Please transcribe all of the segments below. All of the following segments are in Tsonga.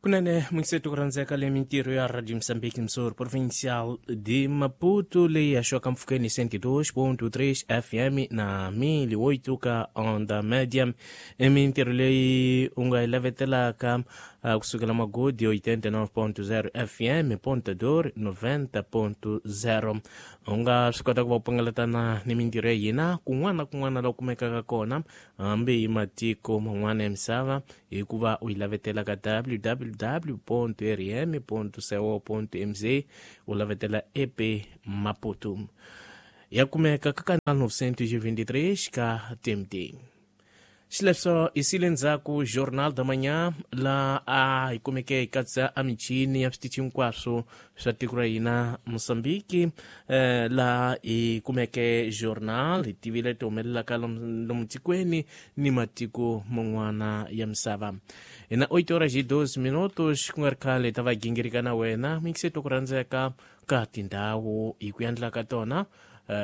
Kunene muyingiseti ku rhandzeka le mintirho ya Radio Moçambique Msor Provincial de Maputo leyi haxiwaka mpfhukeni 102.3 FM na 1008 ka onda média. I mintirho leyi u nga yi lavetelaka kusukela Magodi 89.0 FM, Ponta Dor 90.0. U nga swi kota ku va u pangalatana ni mintirho ya hina kun'wana na kun'wana laha u kumekaka kona, hambi hi matiko man'wana ya misava, hikuva u yi lavetela ka www.rm.co.mz, u lavetela EP Maputo. Ya kumeka ka kanal 923 ka TMT. Xileswo hi sile ndzhaku Jornal da Manhã, la a hi kumeke hi katsa a michini ya switichi hinkwaswo swa tiko ra hina Mozambique, laha hi kumeke journal hi tivile ti humelelaka lomu tikweni ni matiko man'wana ya misava. Hi na 8 horas e 12 minutos, ku nga ri khale hi ta va gingirika na wena muyingiseti ku rhandzeka ka tindhawu hi ku endla ka tona,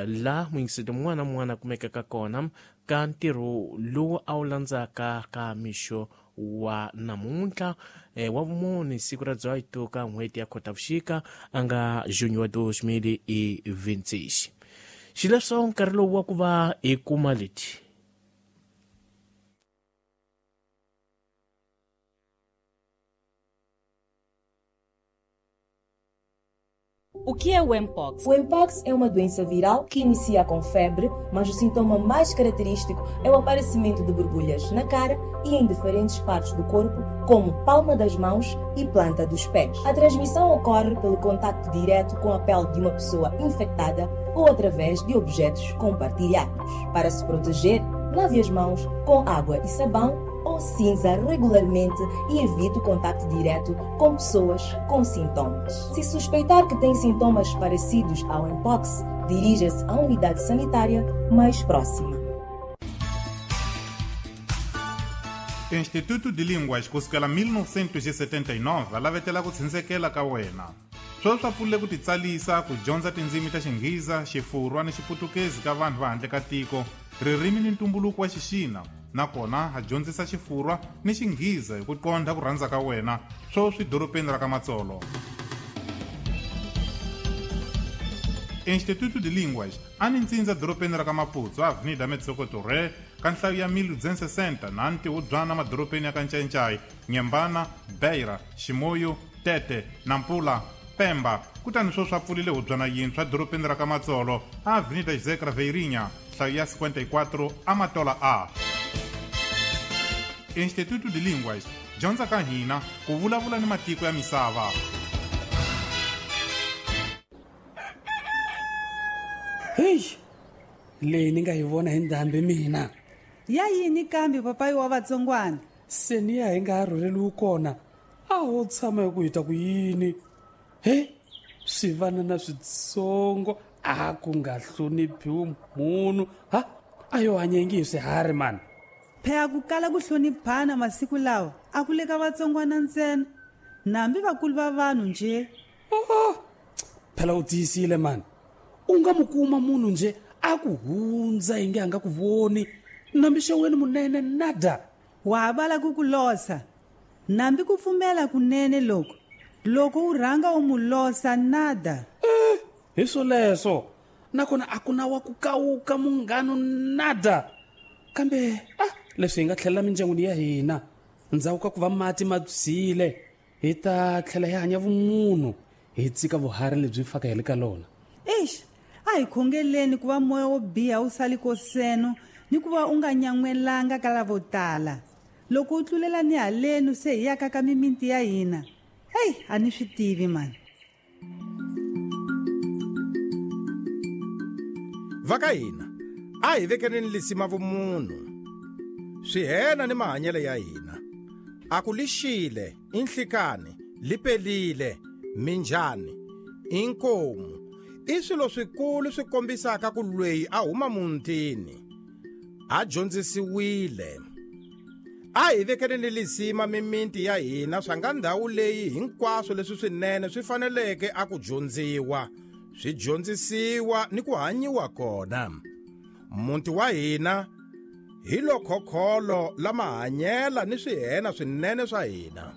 la muyingiseti mun'wana na mun'wana a kumekaka kona ka ntirho lowu a wu landzaka ka mixo wa namuntlha, wa vumune, siku ra 18 ka n'hweti ya Khotavuxika a nga junho wa 2026. Xileswo nkarhi lowu wa ku va hi kuma leti. O que é o Mpox? O Mpox é uma doença viral que inicia com febre, mas o sintoma mais característico é o aparecimento de borbulhas na cara e em diferentes partes do corpo, como palma das mãos e planta dos pés. A transmissão ocorre pelo contacto direto com a pele de uma pessoa infectada ou através de objetos compartilhados. Para se proteger, lave as mãos com água e sabão ou cinza regularmente e evite o contacto direto com pessoas com sintomas. Se suspeitar que tem sintomas parecidos ao Mpox, dirija-se à unidade sanitária mais próxima. Instituto de Línguas kusukela 1979 a lavetela ku tshindzekela ka wena. Sweswi swa pfulile ku titsalisa ku dyondza tindzimi ta Xinghiza, Xifurwa ni Xiputukezi ka vanhu va handle ka tiko, ririmi ni ntumbuluko wa Xixina, nakona ha dyondzisa Xifurwa ni Xinghiza hi ku qondha ku rhandza ka wena, sweswi dorobeni ra ka Matsolo. Instituto de Línguas a ni ntsindza dorobeni ra ka Maputo, Avenida Metsoko Torre, ka nhlayo ya 1260 na ntihubyana madorobeni ya ka Ncayincai, Nyembana, Beira, Ximoyo, Tete, Nampula, Pemba. Kutani sweswi a pfulile hubyana yintshwa dorobeni ra ka Matsolo, Avenida José Craveirinha, nhlayo ya 54, Amatola A. Instituto de Línguas, dyondza ka hina ku vulavula ni matiko ya misava. Heyi, leyi ni nga yi vona hi ndhambi mina. Ya yini kambe papayi wa vatsongwana? Se ni ya hi nga ha rhurheliwi kona, a ho tshama hi ku hi ta ku yini? He, swivanana switsongo a ku nga hloniphiwi munhu, ha a yo hanya ingi hi swiharhi mani. Phela ku kala ku hloniphana masiku lawa a ku le ka vatsongwana ntsena, nambi vakulu va vanhu nje. Oho, phela u tiyisile mani. U nga mu kuma munhu nje a ku hundza inge a nga ku voni, nambi xeweni munene nada. Wa ha vala ku ku losa, nambi ku pfumela kunene loko loko u rhanga u mu losa nada. Hi swoleswo, nakona a ku na wa ku kawuka munghano nada. Kambe a leswi hi nga tlhelela mindyangwini ya hina ndzhaku ka ku va mati ma byile, hi ta tlhela hi hanya vumunhu, hi tsika vuharhi lebyi faka hi le ka lona. Eish, a hi khongeleni ku va moya wo biha wu sali koseno ni ku va u nga nyan'welanga ka lavo tala. Loko u tlulela ni halenu se hi yaka ka mimiti ya hina. Hey, a ni swi tivi mani. Va ka hina a hi vekeleni lisima vumunhu, swihena ni mahanyelo ya hina. A ku lixile, i nhlikani, li pelile, minjhani, i nkomu, i swilo swikulu swi kombisaka ku lweyi a huma muntini, a dyondzisiwile. A hi vekeleni lisima mimiti ya hina swa nga ndhawu leyi hinkwaswo leswi swinene swi faneleke a ku dyondziwa, swi dyondzisiwa ni ku hanyiwa kona. Muti wa hina hi lo khokholo la mahanyela ni swihena swinene swa hina.